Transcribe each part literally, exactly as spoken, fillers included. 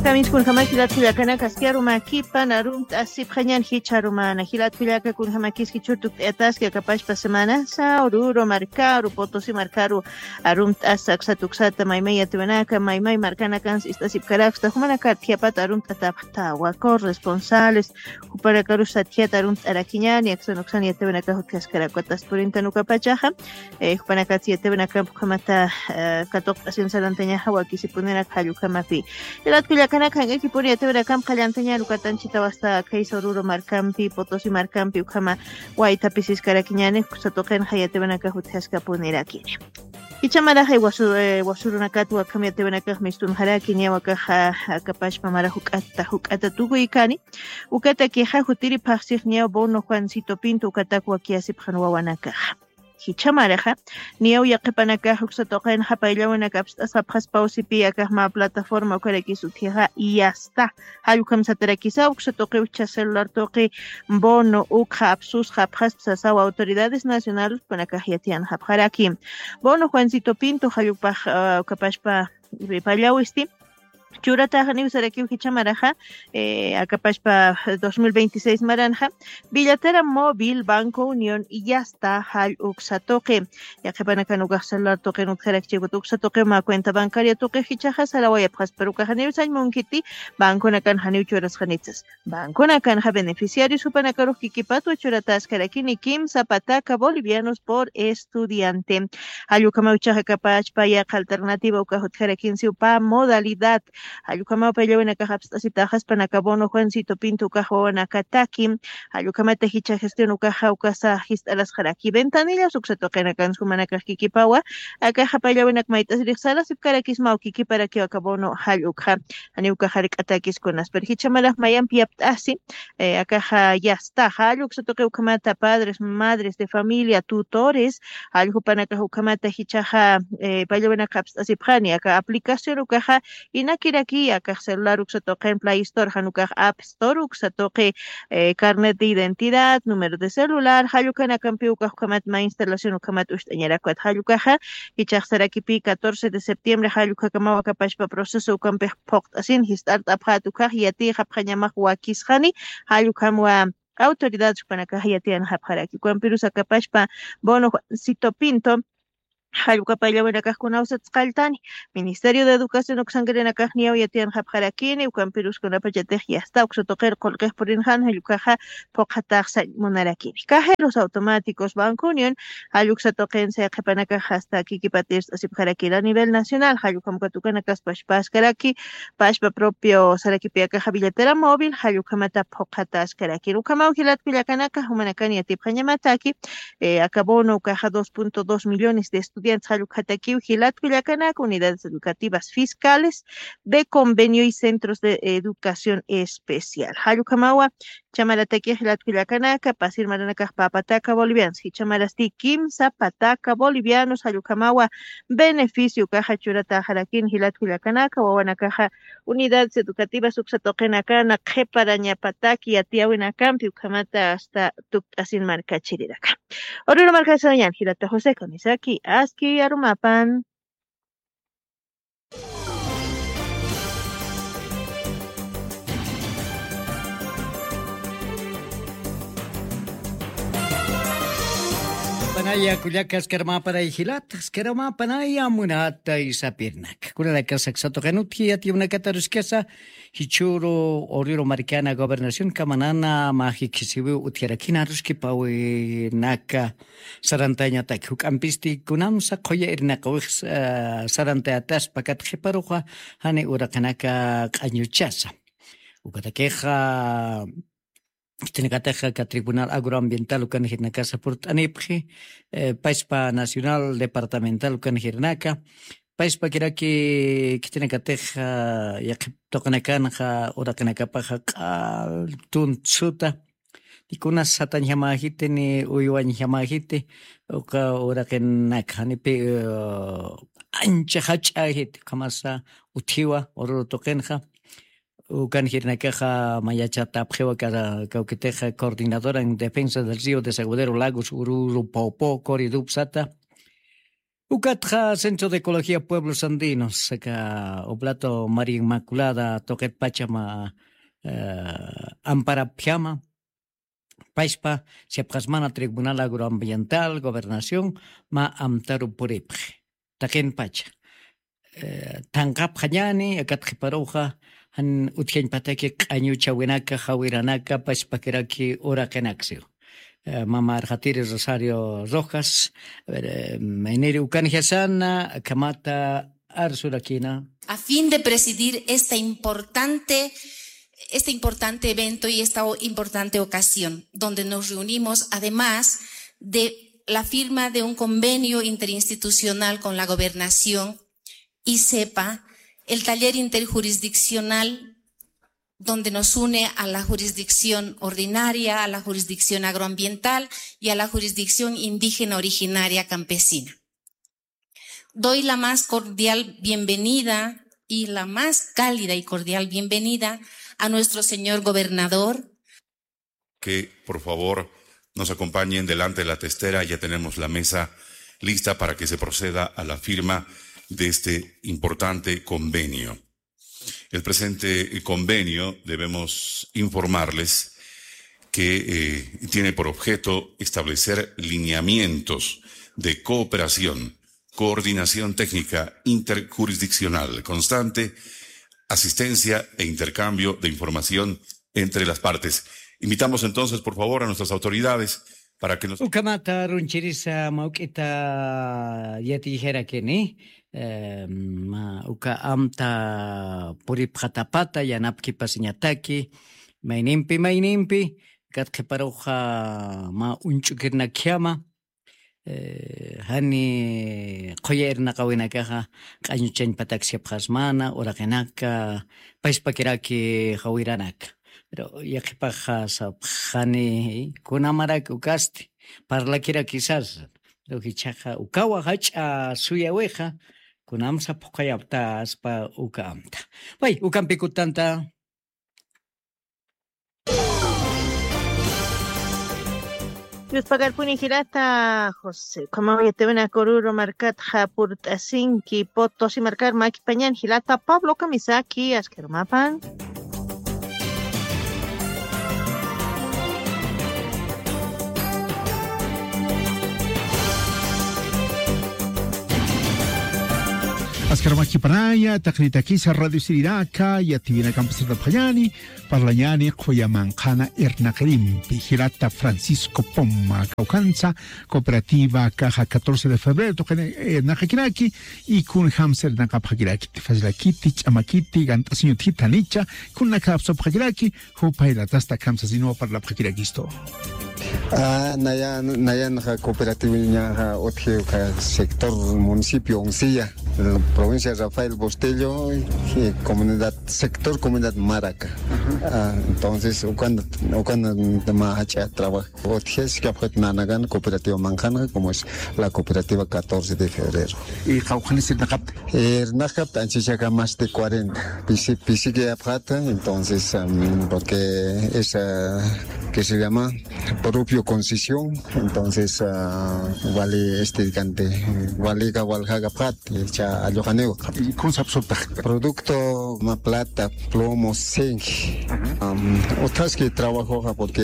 Kamiskunjamaki jilat kullakanaka aski arumakipan arumt'asipxañan jichha arumana jilat kullaka kunjamakis jichhur tukt'ayataski akapashpa semanasa ururu markaru potosi markaru arumt'asa aksata uksata maymay yatiwanaka maymay markanakansi ist'asipkaraksta jumanakar thiyapata arumt'atapxtawa corresponsales jupanakarus satjiyata arumt'arakiñani aksan uksan yatiwanaka jutjaskaraku atas purintan ukapachaxa jupanakatsi yatiwanakampi ukhamata katuqt'asin sarantañaxa wakisipunirak jallukamapi jilat kullakanaka jank'akipuni yatiwanakampi qallantañar ukatanchitawasta khaysa ururu markampi potosi markampi ukhama waytapisiskarakiñani uksa tuqinxa yatiwanaka jutjaskapunirakini icha maraxay wasurunakat wakham yatiwanakax mistunxaraki niyaw akaxa akapashpa mara juk'ata juk'ata tukuykani ukatakixa jutiri phaqsix niyaw bono juancito pinto ukatak wakiyasipxan wawanakaxa jichhamaraxa niyaw yaqhipanakax uksa tuqinxa payllawinak apst'asapxaspaw sipi akax mä plataforma ukarakis utjixa yasta jallukhamsatarakisa uksa tuqi uchcha celular tuqi bono ukxa apsusxa apxaspa sasaw autoridades nacionales jupanakax yatiyanxapxaraki bono juancito pinto jallupax ukapashpa pallawisti churataxa niwsarakiw jichhamaraxa akapashpa dos mil veintiséis maranxa billatera móvil banco unión yasta jall uksa tuqi yaqhipanakan ukax celular tuqin utjarakchikut uksa tuqiw mä cuenta bancaria tuqix jichhaxa sarawayapxaspa rukaxa niwsañ munkiti banconakan janiw churasxanitsas banconakanxa beneficiarios jupanakarux kikipatwa churataskarakini kimsa pataka bolivianos por estudiante jallukamaw ichaxa kapachpa yaqa alternativa uka jutjarakinsiw pä modalidad jallukamaw payllawinakax apst'asitaxaspanaka bono juancito pinto ukax wawanakataki jallukhamata jichha gestión ukaxa ukasa jist'arasxaraki ventanillas uksa tuqinakansi jumanakax kikipawa akaxa payllawinak mayt'asirix sarasipkarakismaw kikiparakiw aka bono jall ukxa janiw ukax jark'atakis kunas pero jichha marax mayampi yapt'asi akaxa yasta jall uksa tuqi ukhamata padres madres de familia tutores jall jupanakax ukhamata jichhaxa payllawinak apst'asipxani aka aplicación ukaxa inakiraki akax celular uksa tuqin play store jan ukax app store uksa tuqi carnet de identidad número de celular jall ukanakampi ukax ukhamat mä instalación ukhamat ucht'añarakwat jall ukaxa jichhax sarakipi catorce de septiembre jall ukakamaw akapashpa proceso ukampix phuqt'asin jist'art'apxät ukax yatiyxapxañamax wakisxani jall ukhamwa autoridad jupanakax yatiyanxapxaraki ukampirus akapashpa bono juancito pinto jallukapayllawinakax kunawsat sqalltani ministerio de educación uksankirinakax niyaw yatiyanxapxarakini ukampirus kunapachatix yasta uksa tuqir qullqix purinxan jallukhaxa phuqhataxsañ munarakini cajeros automáticos banco unión jalluksa tuqin sayqhipanakax hasta kikipatirsasipxarakir a nivel nacional jallukhamkatukanakaspashpaskaraki pashpa propio sarakipi akaxa billetera móvil jallukhamata phuqhataskarakir ukhamaw jilatkullakanaka jumanakan yatipxañamataki aka bono ukaxa dos punto dos millones de estudiantes jallukxatakiw jilatkullakanaka unidades educativas fiscales de convenio y centros de educación especial jallukamawa chamaratakixa jilatkullakanaka pasir maranakax pä pataka bolivianos jichamarasti kimsa pataka bolivianos jallukamawa beneficio ukaxa churataxarakin jilatkullakanaka wawanakaxa unidades educativas uksa tuqinakana qhiparañapataki yatiyawinakampi ukhamata asta tukt'asin markachiriraka ururu markasañan jilata josé kamisaki aski arumapan panaya kullaka askarumapanay jilata askarumapanaya munata isapirnak kunanakasa ksatuqinutki yatiyawinakataruskasa jichhüru ururu markana gobernación kamanana mä jikhisiwiw utjarakina aruskipawinaka sarantañataki juk'ampisti kunamsa qhuya irnaqawix sarantayataspa kat qhiparuxa jani uraqinaka q'añuchasa ukatakixa khitinakatixa aka tribunal agroambiental ukan jirnakasa purt'anipxi paspa nacional departamental ukan jirnaka paspakiraki khitinakatixa yaqhip tuqinakanxa uraqinakapaxa q'al tuntsuta ni kunas satañjamäjiti ni uywañjamäjiti uka uraqinaka janipi ancha jach'äjiti ukhamasa utjiwa ururu tuqinxa ukan jirnakaxa mayachatapxiwa kawkitixa coordinadora en defensa del río desaguadero lagos ururu popo coridupsata Ukatxa Centro de Ecología Pueblos Andinos, aka Oblato María Inmaculada tuqitpacha mä, eh, amparapjama, paspa, sipxasmana Tribunal Agroambiental, Gobernación, mä amtaru puripxi. Taqinpacha. Eh, thanqapxañäni, akat qhiparuxa, jan utjañpataki q'añuchawinaka, jawiranaka, paspakiraki uraqinaka siw. Eh, mama Arxatiri Rosario Rojas, a ver, eh, mayniri ukanjasana, akhamata arsurakïna. A fin de presidir esta importante, este importante evento y esta o-, importante ocasión, donde nos reunimos, además de la firma de un convenio interinstitucional con la gobernación y sepa, el taller interjurisdiccional donde nos une a la jurisdicción ordinaria, a la jurisdicción agroambiental y a la jurisdicción indígena originaria campesina. Doy la más cordial bienvenida y la más cálida y cordial bienvenida a nuestro señor gobernador. Que, por favor, nos acompañen delante de la testera. Ya tenemos la mesa lista para que se proceda a la firma de este importante convenio. El presente convenio, debemos informarles que, eh, tiene por objeto establecer lineamientos de cooperación, coordinación técnica interjurisdiccional constante, asistencia e intercambio de información entre las partes. Invitamos entonces, por favor, a nuestras autoridades para que nos... Ukhamata runchirisa mä juk'ita yatiyirakini, eh, mä uka amta puripxatapata yanapkipasiñataki, maynimpi, maynimpi, akat qhiparuxa mä uñch'ukirnakjama, eh, jani qhuya irnaqawinakaxa, q'añuchañpatak sipxasmana, uraqinaka, paspakiraki jawiranaka. Pero yaqhipaxa sapxani, kunamarak ukasti, parlakirakisas. Pero jichhaxa ukawa jach'a suyawixa, kunamsa phuqhayaptaspa uka amta. Pay, ukampi kutanta. Yuspagarpuni jilata José, ukhamaw yatiwinaka Oruro markatxa purt'asinki, Potosí markar makipañan jilata Pablo Kamisaki, askharumapan. Askharumakipanaya, taqinitakisa radio siriraka, yatiwinakampis sapxañäni, parlañäni qhuya manqhana irnaqirimpi, jilata Francisco Poma, kawkhansa, cooperativa Caja catorce de Febrero, tuqini, eh, irnaqakiraki, y kunjamsa irnaqapxakiraki, tifasllakiti, ch'amakiti, gant'asiñutjita nicha, kunakapsapxakiraki, jupaylatasta kamsasiniwa parlapxakirakistu. Ah, nayan, nayanxa cooperativañaxa utji uka sector municipio Uncilla, provincia Rafael Bustillo, y comunidad, sector comunidad Maraca. Ah, entonces, ukan, ukan mä jach'a trabajo. Utji, sichhapxit nanakan cooperativa manqhanxa, como es la cooperativa catorce de febrero. Y qawqhanis irnaqapta. Irnaqapta anchachaka más de cuarenta. Pisi, pisikiyapxata, entonces, am, porque esa, ¿qué se llama? Propio concesión, entonces, ah, wali este cante, wali ka walja kapxat, cha alloqaniwa. ¿Y cómo se absorta? Producto, ma plata, plomo, zinc. Am, utjaski trabajoxa, porque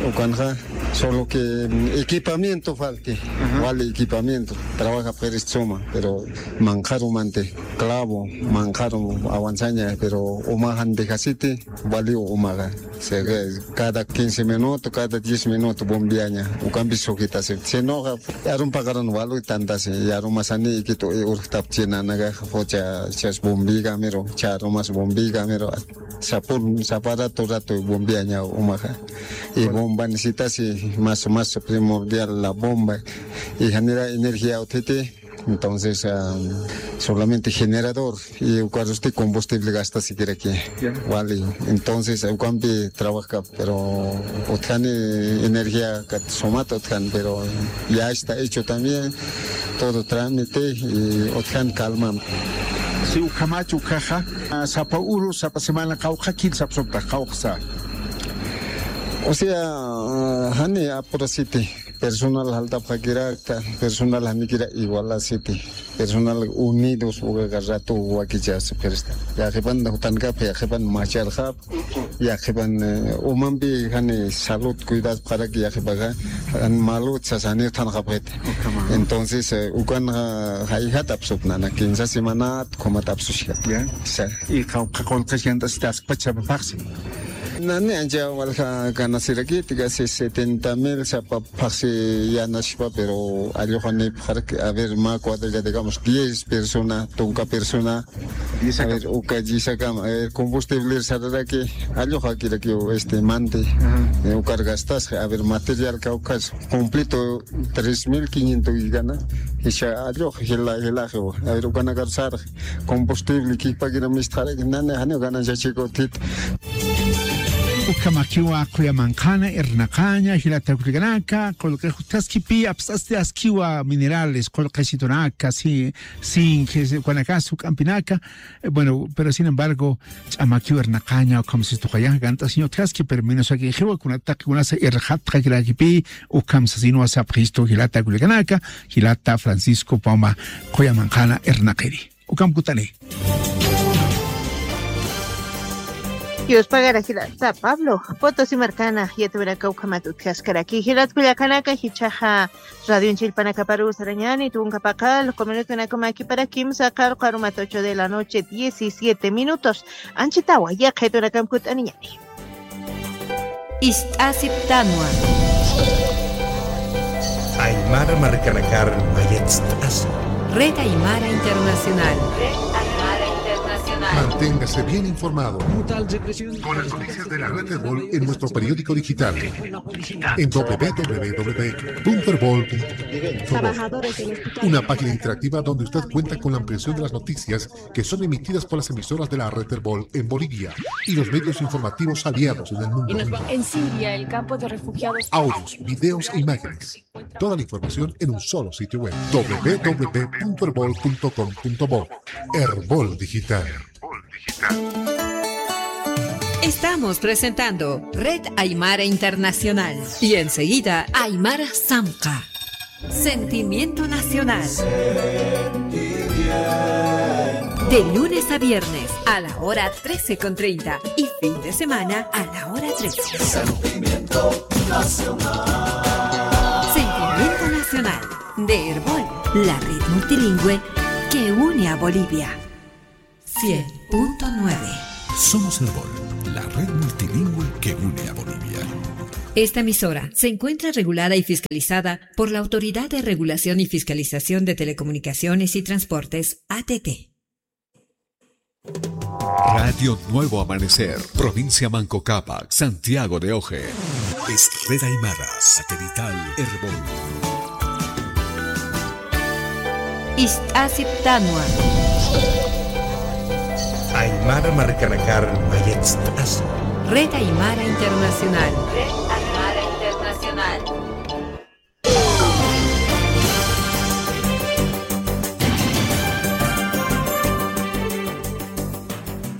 ukanxa, solo que, mm, equipamiento falti, wali equipamiento, trabaja p'irist suma, pero manqharumanti, clavo, manqharu avanzaña, pero umaxan dejasiti, wali umaxa. O sea, que cada quince minutos, cada diez minutos bombeaña, ukampi sujitasi. Sinoxa, yarum paqaran walu tantasi, yarumasani ikitu, i, urjtapchi nanaka, jocha, chas bombigamiru, charumas bombigamiru, sapur, sapa rato, rato bombeaña umaxa. Y bomba necesitasi, más, más primordial la bomba. Y genera energía utjiti, entonces, ah, solamente generador. Y ukarusti combustible gasta siquiera que. Ya. Wali. Entonces, ukampi trabaja, pero utjani energía kat sumat utjan, pero ya está hecho también todo trámite y utjan calma. Si ukhamach ukaxa, ah, sapa uru, sapa semana qawqha kil sapsupta, qawqsa. O sea, jani apurasiti, personal jaltapxakirakta, personal janikira igualasiti, personal unidos ukaqa ratu wakichasipirista. Yaqhipan jutankapxi, yaqhipan macharxapxi, yaqhipan, eh, umampi jani salud cuidasparak yaqhipaxa, jan malud sasani uthanxapxiti. Entonces, eh, ukan, ah, jayjat apsupnana, quince semanat, kumat apsushkat. Ya. Sa. Y qawqha qullqis yant'asita askpacha phaxsi. Nani ancha walja ganasirakiti, casi setenta mil sapa phaxsi yanaspa, pero alluxanipxaraki, a ver, mä cuadrilla, digamos, diez persona, tunka persona. Diez a ver, uka diez akama, eh, combustible sararaki, alluxakiraki, este, mante. Ajá. Eh, ukar gastasqa, a ver, material kawkas, completo tres mil quinientos gana, isha allux, jila, jila, a ver, ukanakar sarx, combustible, kikpakira mistxaraki, nani, jani, gananciachikutit. Ukhamakiwa qullamanqhana irnaqaña, jilata kullakanaka, qullqi jutkaskipi, apsasti askiwa minerales, qullqisitunaka, si, zinc, ukanakas, juk'ampinaka, eh, bueno, pero sin embargo, ch'amakiw irnaqaña, ukham sistuqaya, gant'asiña utjaski, pero menos akinxiwa, kunataq, kunasa irxatxakirakipi, ukham sasinwa sapxistu, jilata kullakanaka, jilata Francisco Poma, qullamanqhana irnaqiri. Ukham kutani. Yuspagara jilata Pablo, Potosí markana, yatiwinaka ukhamat utjaskaraki, jilat kullakanaka, jichhaxa, Radioñ chillpanakaparu sarañani, tunka paqallqu minutunakama kimsa qarqu arumat ocho de la noche, diecisiete minutos. Anchitawa, yaqhitunakam kut'aniñani. Ist'asiptanwa. Aymara markanakar mayatst'asi. Red Aymara Internacional. Red Aymara Internacional. Manténgase bien informado. Con las noticias de la red Erbol en nuestro periódico digital. En w w w punto erbol punto com. Una página interactiva donde usted cuenta con la ampliación de las noticias que son emitidas por las emisoras de la red Erbol en Bolivia y los medios informativos aliados en el mundo. En Siria, el campo de refugiados. Audios, videos e imágenes. Toda la información en un solo sitio web, w w w punto erbol punto com punto bo. Erbol Digital. Estamos presentando Red Aymara Internacional y enseguida Aymara Samka. Sentimiento Nacional. De lunes a viernes a la hora trece con treinta y fin de semana a la hora trece. Sentimiento Nacional de Erbol, la red multilingüe que une a Bolivia. Cien punto nueve. Somos Erbol, la red multilingüe que une a Bolivia. Esta emisora se encuentra regulada y fiscalizada por la Autoridad de Regulación y Fiscalización de Telecomunicaciones y Transportes, A T T. Radio Nuevo Amanecer, provincia Manco Cápac, Santiago de Oje. Es Red Aymara, satelital Erbol. Ist'asiptanwa. Aymara markanakar mayatst'asi. Red Aymara Internacional. Red Aymara Internacional.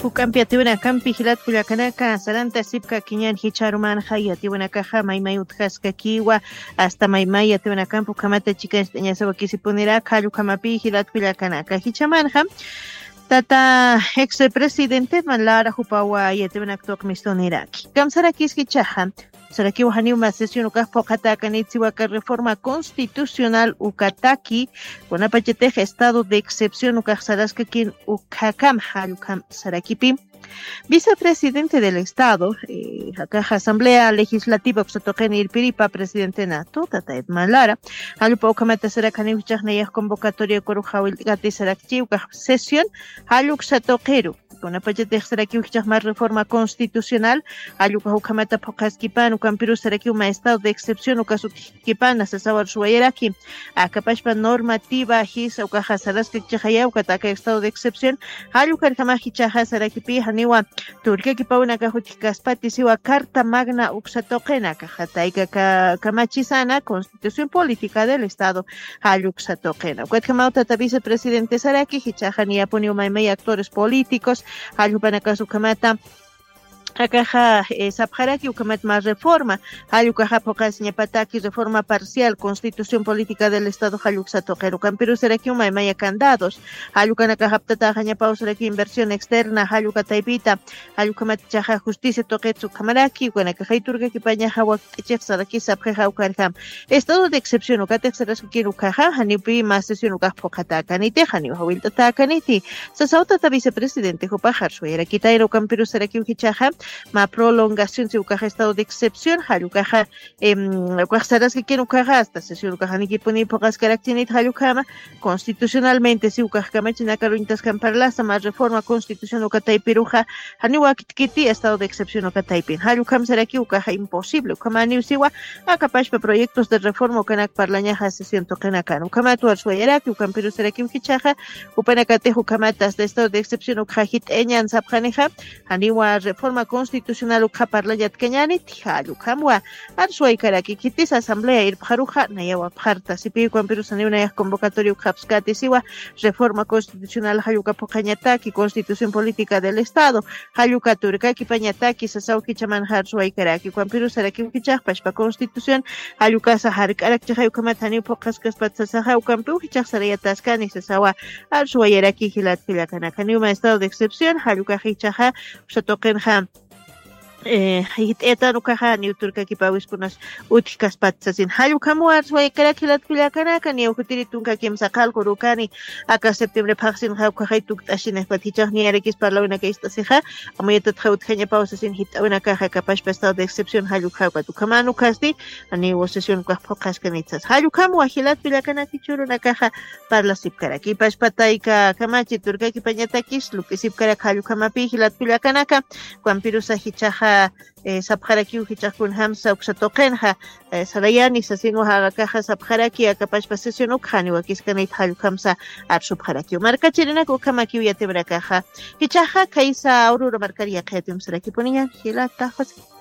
Juk'ampi yatiwinakampi jilat kullakanaka, saranta sipkakiñän jichharumanxa yatiwinakaxa maymay utjaskakiwa, hasta maymay yatiwinakampi ukhamata chikañcht'añasawa wakisipunirak, jall ukhamapï jilat kullakanaka. Jichhamanxa, tata ex presidente Edman Lara jupawa yatiwinak tuqmistuniraki. Kamsarakis jichhaxa, sarakiw janiw mä sesión ukax phuqhatäkanit siwa aka reforma constitucional ukataki, kunapachatix estado de excepción ukax saraskakin ukhakamxa, jall ukham sarakipï. Vicepresidente del Estado, eh, akax Asamblea Legislativa uksa tuqin irpiripa presidentenatu, tata Edman Lara, jall jupa ukhamata sarak janiw jichhax nayax convocatoria ukarux jawillt'kati sarakchi ukax sesión, jall uksa tuqiru. Kunapachatix sarakiw jichhax mä reforma constitucional, jall ukax ukhamata phuqhaskipän, ukampirus sarakiw mä estado de excepción ukas utjkipän, sasawar suwayaraki. Akapachpa normativa jisa ukaxa saraskakchixaya, ukat aka estado de excepción, jall ukarjamax jichhaxa sarakipï janiwa turkakipawinakax utjkaspati siwa Carta Magna uksa tuqinakaxa, tayka ka-, kamachisana, Constitución Política del Estado, jall uksa tuqina. Ukatjamaw tata vicepresidente saraki, jichhaxa niyapuniw maymay actores políticos, jall jupanakas ukhamata, Akaxa sapxaraki ukamat ma reforma, jallukaxa phuqasiñapataki reforma parcial constitución política del estado jalluksa tuqirukan pirusarakiw maymaya candados. Jallukanakaxaptataxañapawsaraki inversión externa jallukataypita, jallukhamat ichaxa justicia tuqitsa ukhamaraki ukanakaxay turkakipañaxa wakt'ichixsaraki sapxixa ukarjam. Estado de excepción ukatixsaraskakir ukaxa janiwpi ma sesión ukax phuqatäkaniti janiw jawillt'atäkaniti. Sasawtata vicepresidente jupaxar suwayarakitayra ukampirusarakiw jichaxa ma prolongación si ukaxa estado de excepción jallukaxa ukaxsaraskakir ukaxa asta sesión ukaxanikipuni phuqaskarakchinit jallukhama. Constitucionalmente si ukaxkamachinakaruñtaskan parlasa ma reforma constitución ukataypiruxa janiw wakitkiti estado de excepción ukataypin jallukham saraki ukaxa imposible ukhama aniw siwa. Akapashpa proyectos de reforma ukanak parlañaxa sesión tuqinakan ukhamat warsuwayaraki ukampirusarakiw jichaxa. Upanakatix ukhamat asta estado de excepción ukaxa jit'añan sapxanixa. Janiwa reforma constitucional ukxa parlañatkañaniti jallukhamwa. Arsuwaykaraki khitis asamblea irpxaruxa nayawapxarta sipiwkampirusaniw nayax convocatoria ukxapskati siwa. Reforma constitucional jallukaphuqañataki constitución política del estado jallukaturkakipañataki sasaw jichaman jarsuwaykaraki ukampirusarakiw jichaxpashpa constitución jallukasa jark'arakchixay ukhamat janiw phuqaskaspat sasaxa ukampiw jichaxsarayataskani sasawa. Arsuwayaraki jilatkallakanaka niwma estado de excepción jallukax jichaxa usatuqinxa jit'ayatan ukaxa niw turkakipawiskunas utjkaspat sasin jallukhamuwar suwaykarak jilatkullakanaka niw jutiri tunka kimsa qalqurukani. Aka septiembre phaqsinxa ukaxay tukt'ashinakpat jichax niyarakis parlawinaka ist'asixa. Amuyatatxa utjañapaw sasin jit'awinakaxa kapashpa estado de excepción jallukhakat ukhaman ukasti. Niw sesión ukax phuqaskanitsas jallukhamuwa jilatkullakanaki churunakaxa. Parlasipkaraki pashpatayka kamachi turkakipañatakis lup'isipkarak jallukhamapi jilatkullakanaka. Ukampirusa jichaxa sapxarakiw jichax kunjamsa uksa tuqinxa sarayani sasinwa jaqakaxa sapxaraki akapashpa sesión ukxani wakiskanit jallukhamsa. Arsupxarakiw markachirinak ukhamakiw yatimrakaxa. Jichaxa khaysa ururu markar yaqhayatimsarakipuniñan jilata jose.